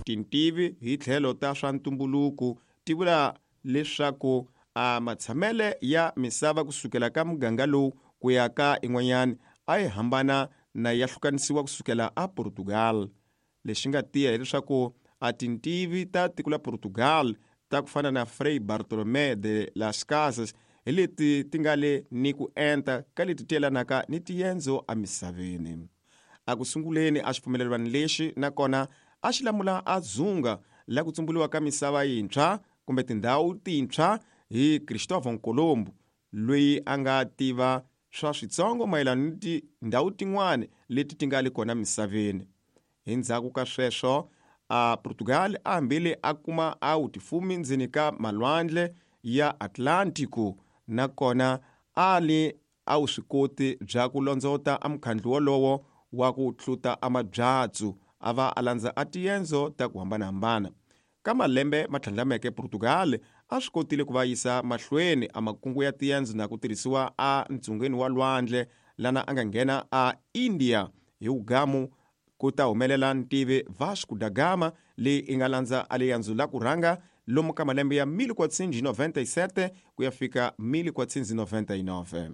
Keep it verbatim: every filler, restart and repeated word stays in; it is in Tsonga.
Tintivi hi tlhelo ta swa ntumbuluko ti vula leswaku a matshamele ya misava kusukela ka muganga lowu ku ya ka in'wanyana a yi hambana na ya hlukanisiwa kusukela a Portugal. Lexi nga tiya hileswaku a tintivi ta tiko la Portugal ta ku fana na Frei Bartolomé de las Casas hi leti ti nga le ni ku enta ka leti ti yelanaka ni tiendzo emisaveni. A ku sunguleni a xipfumelelwano lexi nakona a xi lamula a dzunga la ku tsumbuliwa ka misava yintshwa kumbe tindhawu tintshwa hi Cristóvão Colombo, loyi a nga tiva swa switsongo mayelana ni tindhawu tin'wana leti ti nga le kona misaveni. Hi ndzhaku ka sweswo a Portugal a hambile a kuma a wutifumi ndzeni ka malwandle ya Atlantico, nakona a li a wu swi koti bya ku londzota a mukhandlu wolowo wa ku tluta a mabyatsu a va a landza a tiendzo ta ku hambanahambana. Ka malembe ma tlhandlameke Portugal a swi kotile ku va yisa mahlweni a makungu ya tiendzo na ku tirhisiwa a ntsungeni wa lwandle lana a nga nghena a India hi wugamu ku ta humelela ntivi Vasco da Gama leyi i nga landza a liendzo la ku rhanga lomu ka malembe ya mille quatrocentos e noventa e sete ku ya fika mille quatrocentos e noventa e nove.